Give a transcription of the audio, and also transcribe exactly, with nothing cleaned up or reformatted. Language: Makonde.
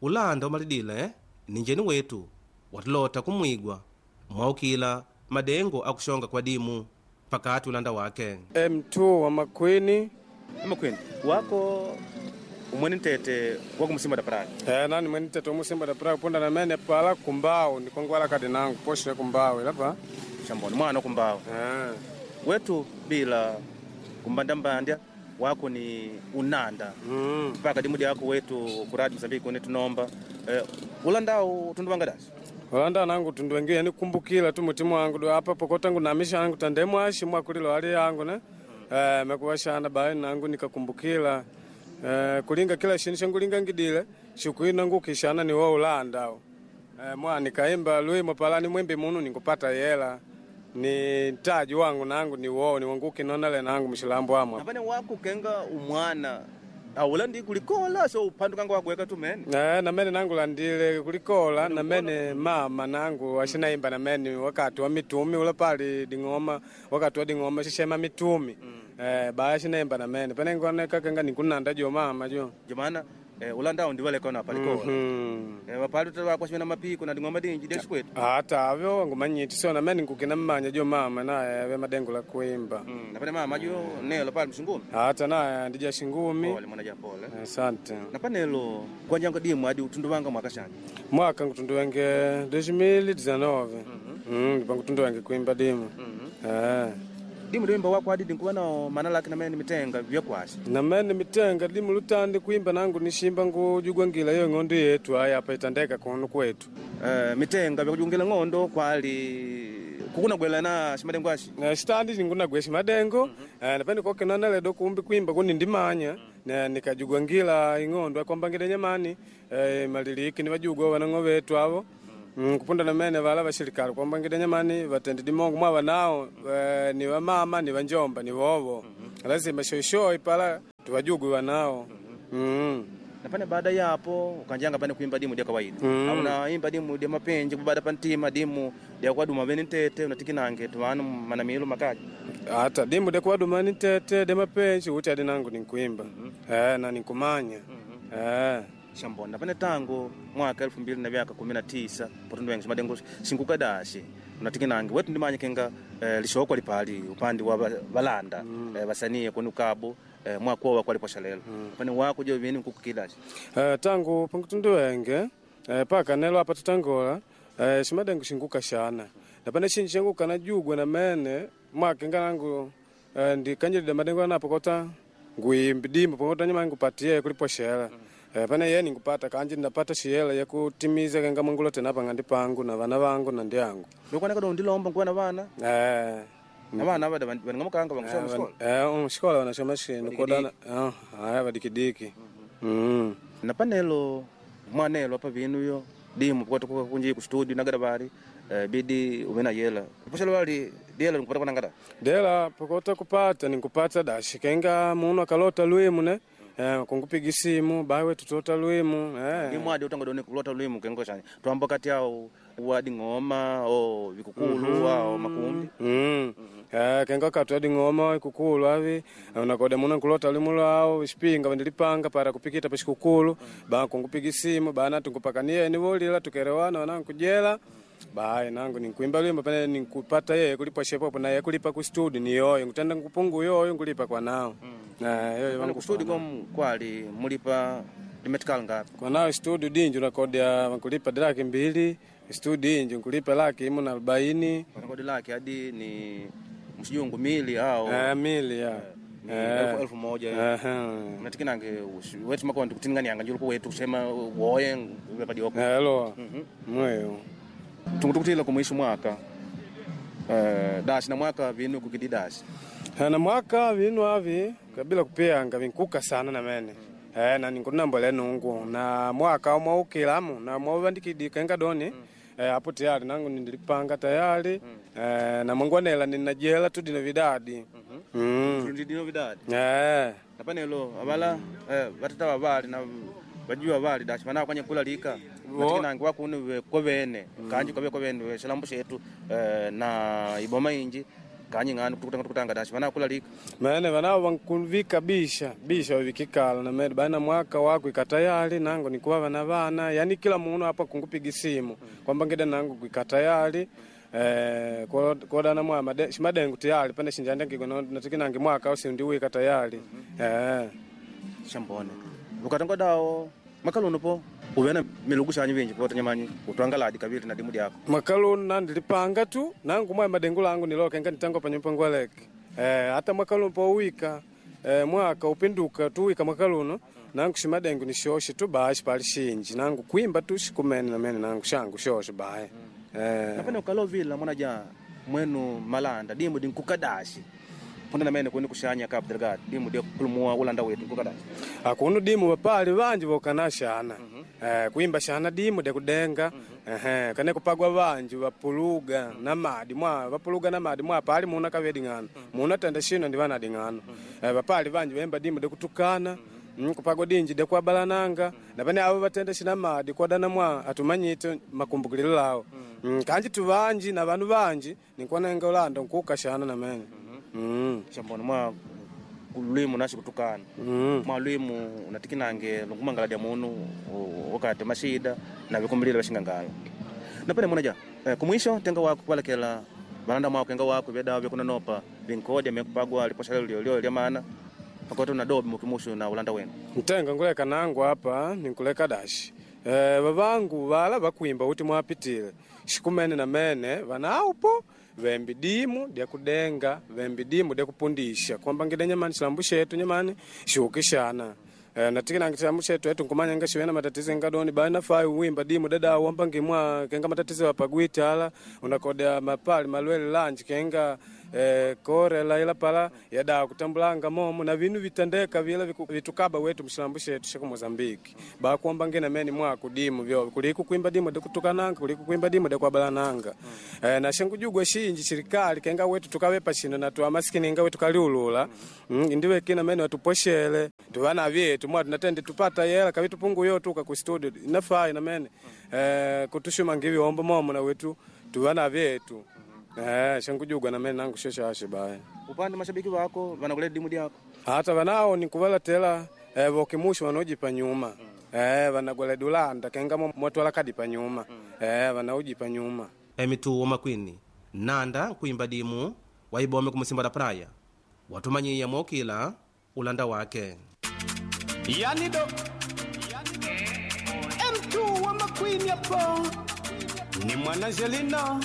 Ulanda umalidile ni njeni wetu watulota kumwigwa mwaukila madengo akushonga kwa dimu pakati ulanda wake M two wa Makwini. Makwini wako umwene ntete wakumusimba da praia. Eh, nani mwene ntete umusimba da praia punda na mene pala kumbao nikongwala kadi nangu poshe kumbao ilapa shamboni mwana kumbao. Eh. Wetu bila kumbandambandya wako ni unanda Mm. mpaka dimu dyako wetu kuradi Mozambique kune tunomba eh, ulandao tunduwanga dasi Ulanda nangu tundu wengi nikumbukila tu mutimu wangu do apa pokota ngu namisha yangu tandemu ashi mwakulilo hali yangu ne. Mm. Eh, mekuwashana bae nangu nikakumbukila eh, kulinga kila shini shangulinga ngidile shuku nangu kishana ni wo ulanda eh, mwa nikaimba lwimo palani mwimbi munu nikupata yela ni ntaji wangu nangu ni wo ni wangu kinonale nangu mshilambo amwa napane wako kenga umwana aulandi kulikola so upandu kanga wakuweka tumene Eh, namene nangu landile kulikola namene mama nangu ashinaimba namene wakati wa mitumi ula pali ding'oma wakati wa ding'oma shishema mitumi mm. Eh, baya shinaimba namene pene ngoneka kenga nikunanda jo mama jo jomana eh, ulandao ndiwaleka na palikola mm. eh, wapali tutawakwashimena mapiko na ding'oma dinji deshi kwetu Hata avyo ngumanyiti sio namene nkukina mmanya jo mama naye ave madengo la kuimba mm. napane mama jo nelo pali mshingumi hata naye ndija shingumi pole mwana ja pole asante napanelo kwanjanga dimu adi utundu wanga mwaka shanje mwaka ngutundu wenge elfu mbili na kumi na tisa mm -hmm. Ngutundu wenge kuimba dimu mm -hmm. Eh. Dimu dimba wako adi dinkuwa nao mana lake namene mitenga vyakwasi namene mitenga dimu lutandi kuimba nangu nishimba ngujugwa ngila iyo ng'ondo yetu aya apa itandeka kunu kwetu eh, mitenga vyakujungila ng'ondo kwali kukunagwela na shimadengo ashi na shitandi ningunagwe shimadengo mm -hmm. Eh, napende kokenana ledo kumbi kuimba kuni ndimanya mm -hmm. Na nikajugwa ngila ing'ondo akwamba ngile nyamani eh, maliliki ni vajugwa wanang'o vetu avo mm. Kupunda namene vala vashirikali kwamba ngile nyamani vatendi dimongo mwava nao eh, ni vamama ni vanjomba ni vovo mm -hmm. Lazima shoishoi pala tuvajugwe wanao mm -hmm. Napane baada yapo ukanjanga pane kuimba dimu dia kawaida Mm. mm. Unaimba dimu dia mapenji kubada pantima dimu dia kwaduma bene ntete unatikinange tuwanu manamilo makaji Hata dimu dekwadumani tete demapenji uti adi nangu ninkuimba mm -hmm. Eh, na ninkumanya mm -hmm. Eh. Shambona pane tangu mwaka elfu mbili na vyaka kumi na tisa potundu wengi shimadengo sinkukadashi unatikinange wetu ndimanya kenga eh, lishoko lipali upande wa ba- balanda mm. eh, basanie kunu kabo eh, mwaka wa kwaliposha lelo mm. Pane wako jo bini nkukukidashi Eh, tangu pangutundu wenge eh, paka nelo apa tutangola eh, shimadengo shinguka shana napane shinji shanguka najugwa namene mwakenga nangu eh, ndikanjilida madengo anapo kota nguimbi dimbo pangota nyama ngupatie kulipo shela mm. Eh, pane ye ningupata kanji ndapata shiyela yakutimiza kenga mwangulo tena pangandi pangu na vana vangu na ndiangu lokwana kado ndilomba nkuwa na vana eh, na vana vada vaningamukanga vankusoma shikola eh, um, shikola wanashoma shinu kodana eh, haya vadikidiki mm. Napanelo mwanelo apa vinu yo dimu pokota kunji ku studio nagada bali eh, bidi umena yela poshalo bali diela nkupata kwa nangada Dela pokota kupata ninkupata dashi kenga munu akalota lwimu ne eh, kungupiga simu bawe tutota lwimu eh. dimu adi utanga doni kulota lwimu kengo chani twamba kati yao wadi ngoma o vikukulu mm -hmm. Ao makumbi Mm. Eh, kenga katu adi ng'oma ikukulu avi unakoda munu nkulota lwimu lwao xipinga vandilipanga para kupikita pa xikukulu ba kungupiga simu bana tunkupakanie nivolila tukerewana wanankujela bayi nangu ninkuimba lwimbo pene ninkupata yeye kulipa shepopo na yeye kulipa ku studio ni yoyo ngutenda nkupungu yoyo nkulipa kwa nao mm. Eh, yoyo Pana vangu ku studio kom kwali mulipa limetikal ngapi kwa nao studio dinji unakodia nkulipa laki mbili studio inji nkulipa laki imu na arobaini panakodi lake adi ni msijungu mili ao eh, mili ya ni elfu, elfu moja Aha. unatikinange wetu makondi kutinganianga njuluku wetu kusema woye vepadioko Elo mweyo tungutukutila kumwisho mwaka eh, dashi na mwaka vinu kukidi dashi na mwaka vinu avi kabila kupiyanga vinkuka sana namene eh, na ninkunambole nungu na mwaka mwaukilamu na mwauvandikidi kenga doni eh, apo tayari nangu nindilipanga tayari eh, na mwangwanela ninajela tudino vidadi mm. ndidino vidadi eh. napanelo avala eh, vatata vavali na vajuwa vali dashi vanao kwanya kulalika natikinange wakunu kwa vene kanji kwave kwa vene shilambo shetu eh, na iboma inji Kanyi ng'ano tukutanga tukutanga dashi vanakulalika Mene vanao vankuvika bisha bisha wavikikala na mene bana mwaka wako ikatayali nangu nikuwa vana vana yani kila munu apa kungupiga simu kwamba ngida nangu ikatayali eh kodana mwa made shimadengu tayari pane shinjanda ngigo natikinangi mwaka au sindiwika tayari eh shambone ukatanga dawo mwaka po uvena milugu shanyu vinji pota nyamanyi utwangaladi kavili na dimu dyako mwaka luno nandilipanga tu nangu mwa madengu langu nilokenga nitango panyumba ngwaleke eh hata mwaka luno powika eh, mwaka upinduka tuwika mwaka luno nangu shimadengu ni shoshe tu bashi pali shinji nangu kwimba tu shikumene na mene nangu shangu shoshe baye eh napene ukalovila mwana ja mwenu malanda dimu dinkukadashi punda namene kuni kushanya Cabo Delgado dimu dia kulumua ulanda wetu nkukadashi akunu dimu vapali vanji vokana shana eh, kuimba shana dimu dekudenga ehe kane kupagwa vanji vapuluga na madi mwa vapuluga na madi mwa pali muna kavedi ng'ano muna tenda shino ndi vanadi ng'ano eh, vapali vanji vemba dimu dekutukana mm, kupagwa dinji dekwabalananga na pane avo vatenda shina madi kodana mwa atumanyite makumbukililo lao mm, kanji tuvanji na vanu vanji nikwanenga ulanda nkuka shana na mene mm. shambone mwa lwimu nashi kutukana Mm. mwa lwimu unatikinange lungumangala dya munu u- wakati mashida na vikumbilile vashingangala napene mwana ja eh, kumwisho tenga wako kuvalekela valanda mwako kenga wako vyedawa vyakunanopa vinkodya mekupagwa liposha lyo lyo lya mana pakoto na dobi mukimushu na ulanda wenu ntenga nguleka nangu apa ninkuleka dashi e, vavangu vala vakwimba uti mwapitile shikumene na mene vanaupo vembi dimu dyakudenga vembi dimu dyakupundisha kwamba ngide nyamani chilambu shetu nyamani shiukishana e, natikinangi chilambu shetu etu nkumanya nga shiwe na matatizo ngadoni bali nafai uwimba dimu dada wamba ngimwa kenga matatizo apagwitala unakoda mapali malwele lanji kenga eh, korela ila pala yada kutambulanga momo na vinu vitandeka vila viku- vitukaba wetu mshilambu shetu shaku Mozambiki bakuomba ngena meni mwaku dimu vyo kuliku kuimba dimu dekutukananga kuliku kuimba dimu dekwabalananga mm. eh, na shengujugwa shinji shirikali kenga wetu tukawepa shino na tuwa maskini nga wetu kaliulula mm, indiwe kina meni watuposhele tuvana vyetu mwa tunatende tupata yela kavitu pungu yo tuka ku studio inafai na mene eh, kutushuma ngivi ombo momo na wetu tuvana vyetu Eh, shangujugwa na mene nangu sheshashe baye upande mashabiki wako vanakuleta dimu dyako hata vanao nikuvalatela eh, vokimushu vanojipa nyuma eh, vanagwala dulanda kenga mo- mwatwala kadi pa nyuma eh, vanaujipa nyuma emituwo makwini nanda nkuimba dimu waibome kumusimba da praia watumanyiya mokila ulanda wake Yani do M two wa makwini hapo ni mwana Angelina.